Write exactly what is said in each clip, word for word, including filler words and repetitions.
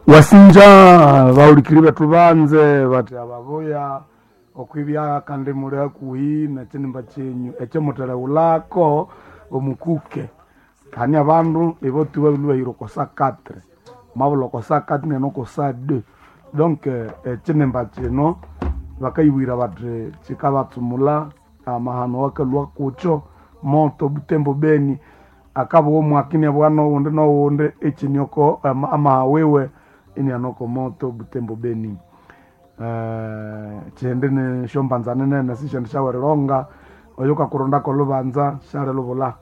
Wasinja baulikiri bethu banze bathi ababuya okwibya kandi muli hakuhi nekinimba kyenyu ekyomuthelewulako omukuke. Hani abandu ibotuba bilubahira oko saa quatre, mwabulha oko saa quatre nene oko saa deux. Donc ekinimba kino bakayibwira bathi kikabatsumula amahano awakalhwa kukyo moto Butembo Beni akabugha omwaka inabugha noghundi noghundi ekini oko amaha wiwe iniana oko moto Butembo Beni. Ekindi nisyombanza ninene sisyendi syawerilonga oyukakurondako olhubanza syalilubulha.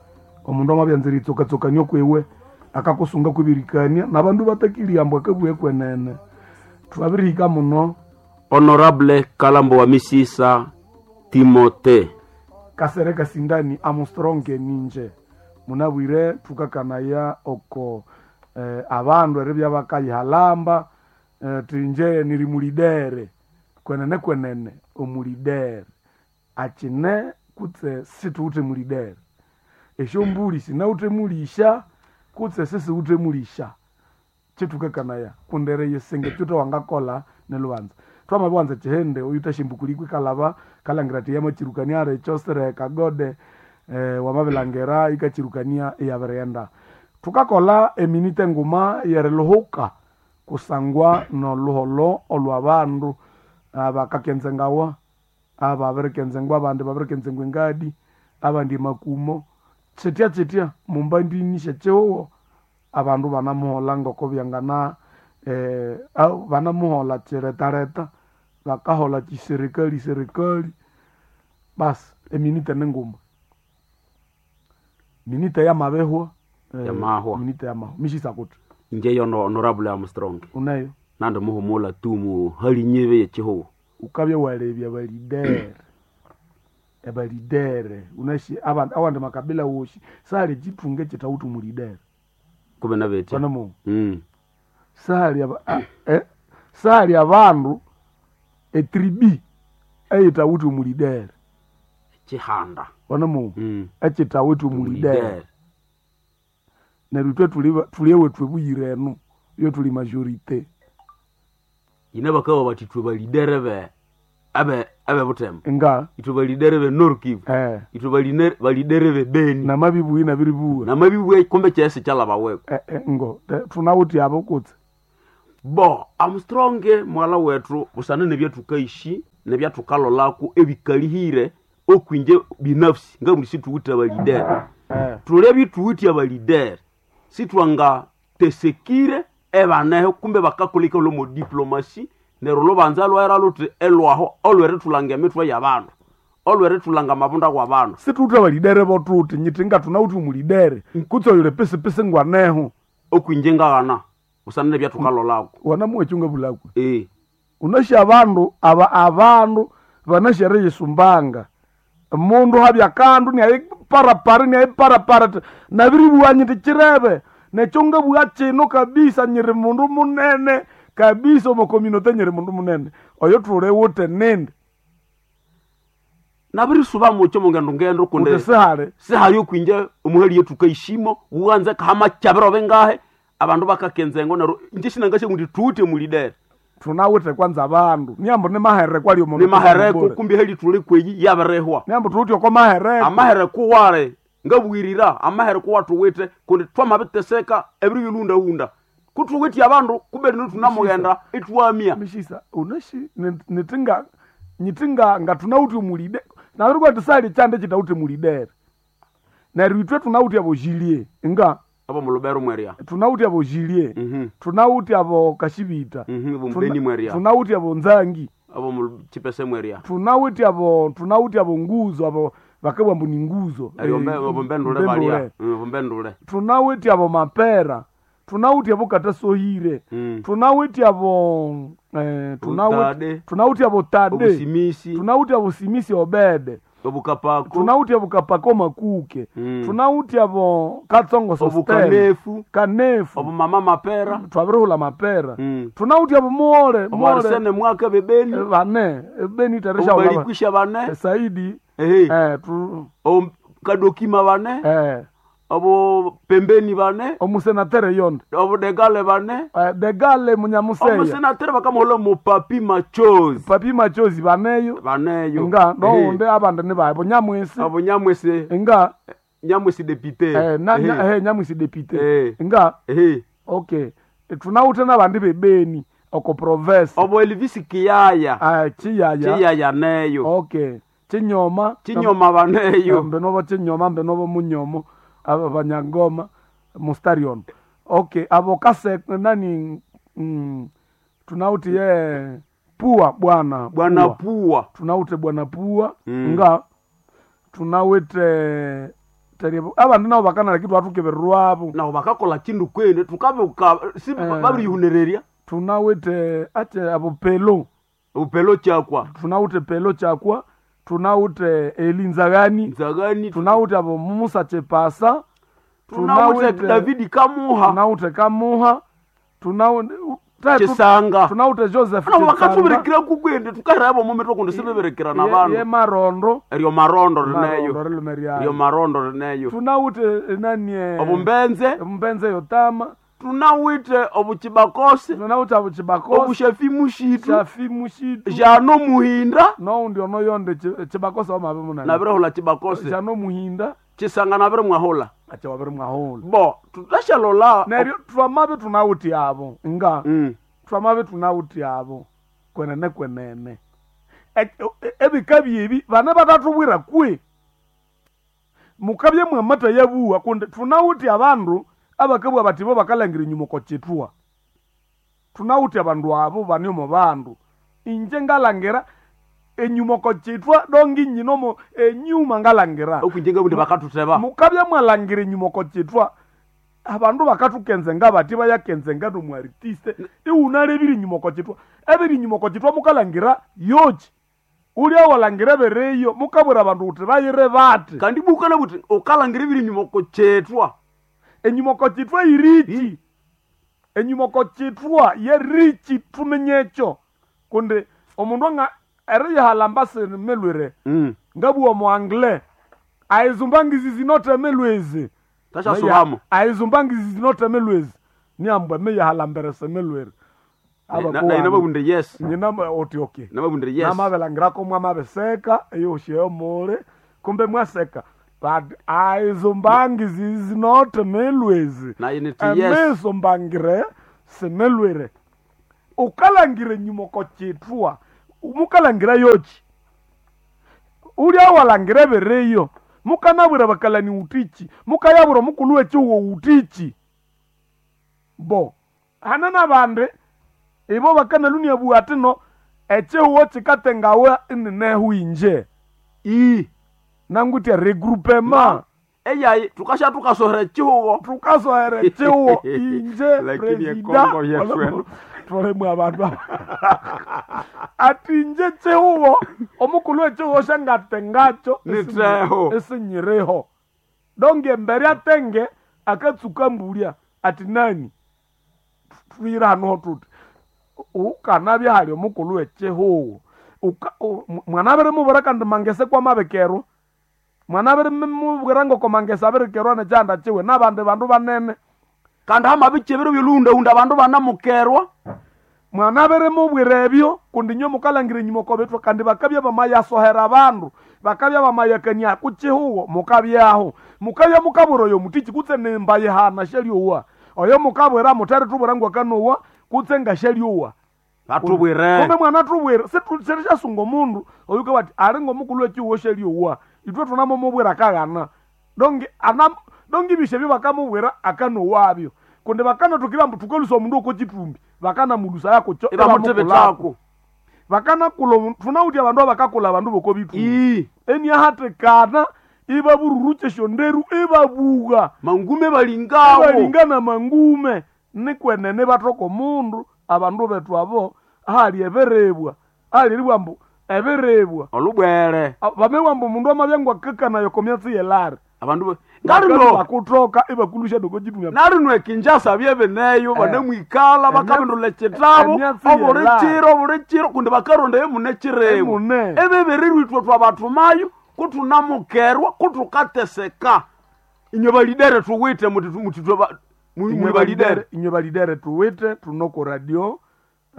Omundu amabyanza eritsokatsokania okwiwe akakusunga kwibirikania nabandu batakilya ambu akabugha ekwenene. Thwabirihika muno. Honorable Kalambo wa Misisa Timote Kasere Kasindani Armstrong ninje munabwire thukakanaya oko eh, abandu eribya bakayihalamba eh, thinje niri mulidere kwenene kwenene omulidere akine kutse situwithe mulidere esyombuli sinawithe mulisha kutse sisiwithe mulisha kyithukakanaya kundi eriyisinga ekyutha wangakolha nilhubanza. Thwamabiwanza ekyihindi oyuthasya ikalhaba kalhangira athi yamakyirukania alikyo sirehe kagode eh, wamabilhangira yikakyirukania iyabirighenda. Thukakolha eminite nguma yeriluhuka kusangwa nolhuholho olwabandu abakakyenzengawa ababirikenzengwa abandi babirikenzengwa engadi abandi emakumo kyitya kyitya mumbandini syekyihugho abandu banamuholha ngoko byangana eh, banamuholha kyiretaleta bakaholha kyiserikali serikali basi eminite ninguma minite yamabihwa eh, Yamahwa. minite yamahwa mishisa kuthi inje yono Honorable Armstrong uneyo nandi muhumula tu mu hali nyibe yekihugo ukabya walebya balidere ebalidere unashi abandi awandi makabila woshi sali ekithunga ekyithawithe omulidere kube nabetya bana mungu mm. sali aba, a, eh, sali abandu etribi eyithawithe omulidere kihanda bana mungu mm. ekyithawithe omulidere Mulidere. neryo ithwe thuli thuli ewethu ebuyira enu iyo thuli majorité ine bakaba bati ithwe balidere be abe abe Butembo nga ithwe balidere be Nord Kivu eh, ithwe baline- balidere be Beni namabibuyi nabiribuwa namabibuya kumbe kyesi kyalabaweko eh, eh, ngo te- thunawithe abo kutse bo Armstrong mwala wethu busana nebyathukaishi nebyathukalolaku ebikalihire okwinje binafsi ngamuli situwithe abalidere eh, thulebye ithuwithe abalidere sithwanga tesekire ebaneho kumbe bakakoleka lomo diplomasi neryo lubanza lwaira luthi elwaho olwerithulanga emithwe yabandu olwerithulanga amabunda wabandu situwithe abalidere bothuthi nyithi nga thunawithe omulidere kutse oyuli pisipisi ngwaneho okwinje ngaghana busana nebyathukalolaku wanamuwa ekyungabulakwe eh unasya abandu aba abandu banasya eriyisumbanga mundu habya kandu niayiparapara niayiparapara ti nabiribuwa nyiti kirebe nekyo ngabuwa kino kabisa nyiri mundu munene kabisa omo community nyiri mundu munene oyo thuli wuthe nindi nabirisuba mukyo mungendo ngendo kundi wuthi sihali sihali okwinje omuhali yetu kaishimo wuwanze kahama kyabiro bingahe abandu bakakenzengo neryo inje sinangasya ngundi thuwithe mulidere thunawithe kwanza abandu niambu nimahereko ali omo nimahereko kumbi hali thuli kweyi yabirihwa niambu thuwithe oko mahereko amahereko wale ngabwirira amahereko wathuwithe kundi twamabiteseka ebiro bilundahunda kuthuwithe abandu kumbe lino thunamughenda ithwamya mishisa unashi nitinga nyitinga nga tunawuthe omulide nabirikuwa tisali kyande kyitawuthe mulidere neryo ithwe tunawuthe abojilie nga abo mulubero mwerya tunawuthe abojilie Mhm. tunawuthe abo kashibita Mhm, abo mubeni mwerya tunawuthe abo nzangi abo muchipese mwerya tunawuthe abo tunawuthe abo nguzo abo bakabwa ambu ni nguzo Eryo Eh, mbe- abo mbendule mbendule. balya Mm, abo mbendule tunawithe abo mapera tunawuthe abo katasohire Mm. tunawithe abo eh, tunawithe Obutade. tunawithe abo tade obusimisi tunawuthe abo simisi obede obukapako tunawuthe abo kapako makuke Mm. tunawuthe abo katsongo sostel obukanefu kanefu obumama mapera twabirihula mapera Mm. tunawuthe abo muole muole obuarisene mwaka bebeni eh, bane beni tereshaula obubalikwisha bane saidi ehe eh, tu, kadomima bane eh, Abo pembeni bane. Omusenatere yonde. Abo degale bane. Uh, degale munyamuseya. Omusenatere bakamuhola mu papi machozi. Papi machozi baneyo. Baneyo. Nga nonde abandi ni bae bunyamwisi. Abo nyamwisi. Nga nyamwisi député. Eh na nya, eh nyamwisi député. Eh. Nga eh okay. Tunawute nabandi bebeni oko province. Obo Elvis Kiyaya. Ah Chiyaya. Chiyaya neyo. Okay. Chinyoma. Chinyoma baneyo. Mbenobo chinyoma mbenobo munyomo. Aba banyangoma mustarion. Okay, abo kase nani mm, tunauti ye pua bwana bwana pua. Tunaute bwana pua mm. Nga tunawete teribo abandu nabo bakana kitu atukeberwabo nabo bakakola kindu kwene tukabe si eh, babirihuneriria tunawete ate abo pelo upelo chakwa tunawute pelo chakwa tunawute elinzagani nzagani tunawute abo Musa Chepasa tunawute David Kamuha tunawute Kamuha tunawute Chisanga tunawute Joseph Chisanga bakatuberekera kukwende tukarabo mu mitwe kundi sibeberekera na bandu ye marondo eryo marondo rineyo eryo marondo rineyo tunawute nani obumbenze mbenze yotama tunawite obuchibakose tunawute obuchibakose obushafi mushitu shafi mushitu jano muhinda no undi ono yonde chibakose omabe munani nabirehola chibakose jano muhinda chisanga nabire mwahola acha wabire mwahola bo tutashalola neryo twamabe tunawuti abo nga mm. twamabe tunawuti abo kwenene kwenene ebika byebi bana batatubwira kwe mukabye mwamata yabuwa kundi tunawuti abandu abakabwa bati bo bakalangira enyuma kochitwa tunawuti abandu abo baniomo bandu inje ngalangira enyuma kochitwa dongi nyinomo enyuma ngalangira okunjenga bundi bakatuteba mukabya mwalangira enyuma kochitwa abandu bakatukenzenga bati bayakenzenga nomuartiste iwunalebire enyuma kochitwa ebiri enyuma kochitwa mukalangira yochi ulya walangira bereyo mukabwira abandu uti bayire bati kandi bukana buti ukalangira ebiri enyuma kochitwa enyuma kochitwa irichi enyuma kochitwa yerichi tumenyecho kundi omundu anga eriyihalamba sinimelwire mm. ngabuwa mu anglais aizumbangizi zinotemelwezi tashasubamo aizumbangizi zinotemelwezi niambwa meyihalamberese melwere nababunde yes nyina oti okay nababunde yes namabelangirako mwamabeseka eyosheyo mule kumbe mwaseka but aizumbangizi zinotemelwezi naye niti yes emesombangire semelwere ukalangire nyuma kochitwa mukalangira yochi ulya walangira bereyo mukanabwira bakalani utichi mukayabura mukulu wechiwo utichi bo hana nabandi ibo bakanalunia bua atino echiwo chikatengawe ininehu inje i nangutia regroupement eyayi tukasha tukasohera chihugo tukasohere chiwo inje Lakini presida ekongo yetu eno. tolemu abandu aba ati inje chihugo omukulu wechihugo shangatengacho Niteho. esinyireho donge embere atenge akatsuka mbulya ati nani twire hano tuti ukanabya hali omukulu wechihugo mwanabere mubura kandi mangese kwamabekerwa mwanabere mubwira ngoko mangese abirikerwa nechanda chiwe nabandi bandu banene kandi hamabichebero byolundahunda abandu banamukerwa mwanabere mubwira ebyo kundi nyo mukalangira enyuma kobetwa kandi bakabya bamayasohera abandu bakabya bamayakania kuchihugo mukabyaho mukabya mukabwira oyo mutichi kutse nembayihana shelyowa oyo mukabwira mutari tubwira ngwakanowa kutse ngashelyowa batubwire kumbe mwana tubwira sirishasunga omundu oyuka bati ali ngomukulu wechihugo shelyowa itwe tunamomubwira kaghana donge ana donge ibishe byo bakamubwira akanowabyo kundi bakanathukira ambu thukalusa omundu oko chitumbi bakanamulusa yakucho ibamutebetako bakanakula omundu thunawuthi abandu abakakula abandu boko bitumbi i eniahatikana ibabururucha esyonderu ibabuga mangume balingawo ibalingana mangume nikwenene bathoka omundu abandu bethu abo ahali ebirebwa ahaliribwa ambu ebirebwa olubwere bamebwa ambu omundu amabya ngwakakanayo komyatsi yelari abandu ba- ngarino bakutoka ibakulusha doko chitumbi narino ekinjasa byebineyo Eh. banemwikala bakabindula ekitabo emyatsi obuli yela. kiro obuli kiro kundi bakarondayo mune kirebu Emune. ebibirirwa ithwe twabatumayo kutunamukerwa kutukateseka Inywe balidere tuwite muti muti twa muli balidere. Inywe balidere tuwite tunoko radio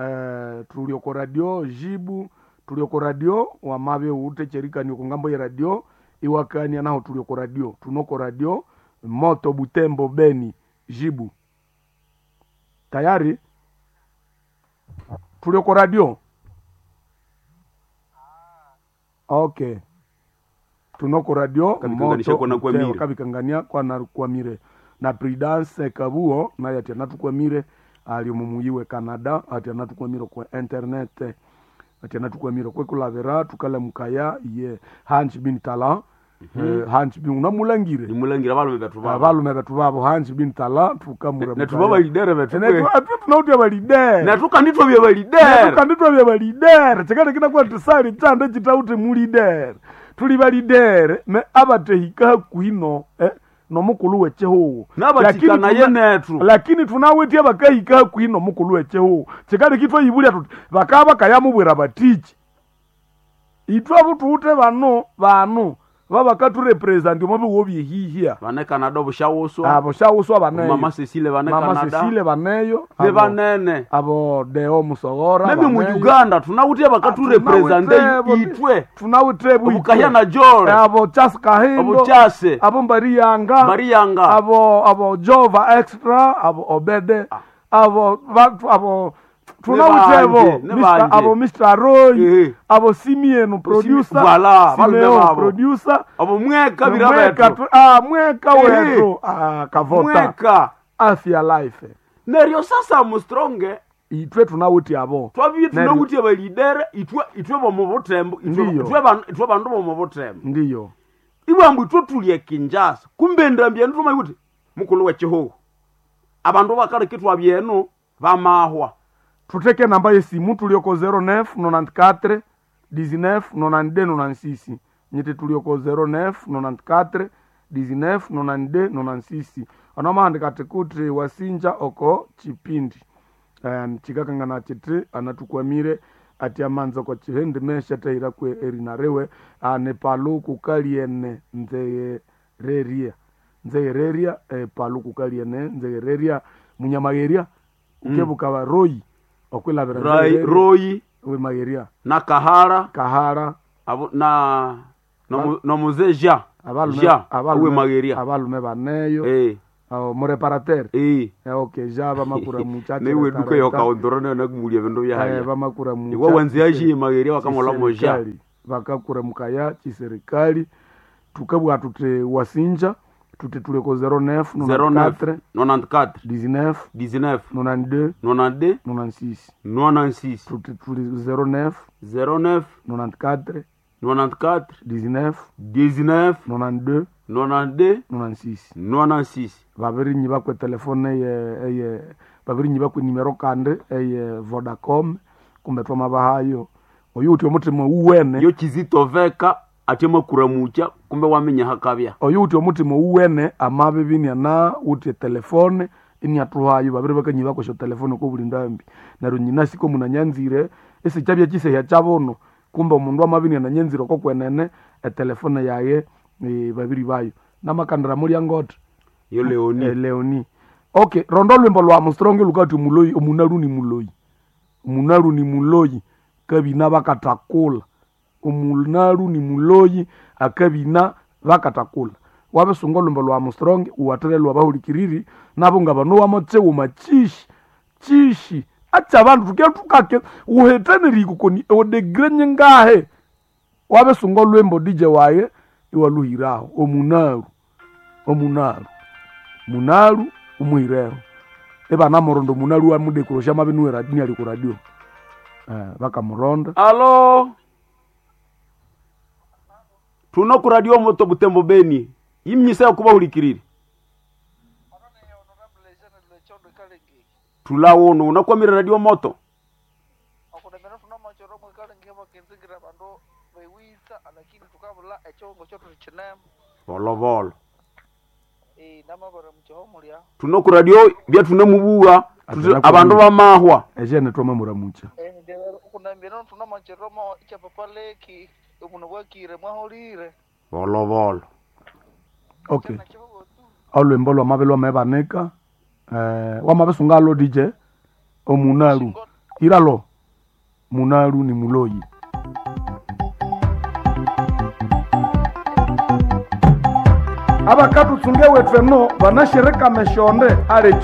eh, tuli oko radio jibu tuli oko radio wamabye ute cherikani oko ngambo ya radio iwakania naho tuli oko radio tunoko radio moto Butembo Beni jibu tayari tuli oko radio okay tunoko radio Kabikanganisha moto kwa nakwamire. Butembo, kabikangania kwa nakwamire na Prudence Kabuo naye ati anatukwamire ali mumuyiwe Canada ati anatukwamire kwa internet ati anatukwamire kwekulavira tukale mukaya ye Hans bin Tala eh, Hans bin unamulangire Nimulangira balume betu babo. abalume betu babo Hans bin Tala tukamura Netu baba lidere betu. tunautia balidere Netu kanditwa bya balidere. tukanditwa bya balidere chikati kinakuwa tisali chande chitauti mulidere tuli balidere me abatehika hakuhino eh, nomukulu wechehuwu Nabatikanaye netu. lakini tunawitya bakahika hakuhi nomukulu wechehuwu chikali kitwa ibulya tuti bakaba bakayamubwira batichi itwe abo bano bano babakaturepresenti omo biwo byehihya Vane Canada obushawuswa. abo shawuswa baneyo Mama Cecile vane mama Canada. Cecile baneyo Ne abo- banene. abo deo musogora Meme mu baneyo. Uganda tunawutya bakaturepresente itwe. tunawite bwitwe. Obukahya na Jore. abo Charles Kahindo Obuchase. abo Mbariyanga Bariyanga. abo abo Jova extra abo Obede abo batu abo tunawitebo banje, ne Mr. banje. abo Mr Roy Eh. abo Simieno producer Voilà, balume Simeo babo. producer Abo mweka mweka birabetu. tu- ah mweka Eh. wetu ah kavota Mweka. afya life Neryo sasa mustronge itwe tunawiti abo twabye Neryo- tunawutya balidere itwe itwe bomu butembo itwe Ndiyo. itwe ban- itwe bandu bomu butembo. ndiyo Ibwambu itwe tulye Kinshasa. Kumbe ndambya nduma kuti mukulu wechihugu. Abandu bakaleka twabyenu bamahwa. tuteke namba yesimu tulioko zero nine nonante-quatre dix-neuf nonante-deux nonante-six nyiti tulioko zero nine nonante-quatre dix-neuf nonante-deux nonante-six ano mahandika ati kuti wasinja oko chipindi um, chikakangana chiti anatukwamire ati amanza kwa chihende mesha taira kwe erinarewe ane palu kukaliene nzeyereria nzeyereria eh, palu kukaliene nzeyereria munyamageria ukebuka mm. royi okwilavira Rai, nzeyereria, Royi we mageria na Kahara kahara abo na no no muze Jean. abalume Jean awe abalume mageria. abalume baneyo Eh abo mureparateur eh. Eh, okay ja bamakura muchache Newe duka yokaondorana nakumulia vindu eh, byahaya. bamakura mucha Iwe wanziashi mageria wakamola moja. chiserikali vakakura mukaya chiserikali tukabwa tuti wasinja tuti tuleko zero nine zero nine nonante-quatre dix-neuf dix-neuf nonante-deux nonante-deux nonante-six nonante-six tuti tuli zero nine zero neuf nonante-quatre nonante-quatre dix-neuf dix-neuf nonante-deux nonante-deux nonante-six nonante-six. vavirinyi vakwe telefone eye eye vavirinyi vakwe nimero kandi eye Vodacom kumbe twamavahayo oyu uti omutima uwene Yo Kizito veka ate makura mucha kumbe wamenya hakabya. oyu uti omutima uwene amabibi na uti telefone iniatuhayo babiri bakanyi bakosha telefone ko buli ndambi neryo nyina siko munanyanzire esikyabya kisehya kyabono kumbe omundu amabi ananyanzire oko kwenene etelefone yaye e, babiri bayo namakandira mulya ngote Yo Leoni. eh, leoni okay rondo lwimbo lwa mustronge lukati muloyi omunalu ni muloyi omunalu ni muloyi kabina bakatakula omunalu ni muloyi akabina bakatakula wabisunga olwimbo lwa mustronge uwathere lwabahulikiriri nabo nga bano wamotsewu chishi chishi acha abandu tuke tukake uhetenerikukoni odegre nyingahe wabisunga olwimbo dj waye iwaluhiraho omunalu omunalu munalu umuhireho ebana murondo munalu wamudekurosha mabinuwe niali ku radio eh, bakamuronda Alo. Tuno ku radio moto Butembo Beni. Imnyisa kuba hulikiriri. Tulawono unakwamira radio moto. okunamira tunamachoro mwikalengi vakinzingira vandu vewisa lakini tukavula echongo chotu chinema Volovolo. eh namavara muchiho mulya Tuno ku radio bya tunemubuwa Atera abandu bamahwa. ejene twama muramucha eh okunambira tunamachoro mo ichapapaleki omuno bwakire mwaholire Volovolo. okay Chana chivo tu Olwimbo lwamabe lwamebanika eh, wamabisunga D J omunalu iralo munalu ni muloyi. Abakatutsunge wethu eno banashirika meshonde alecho.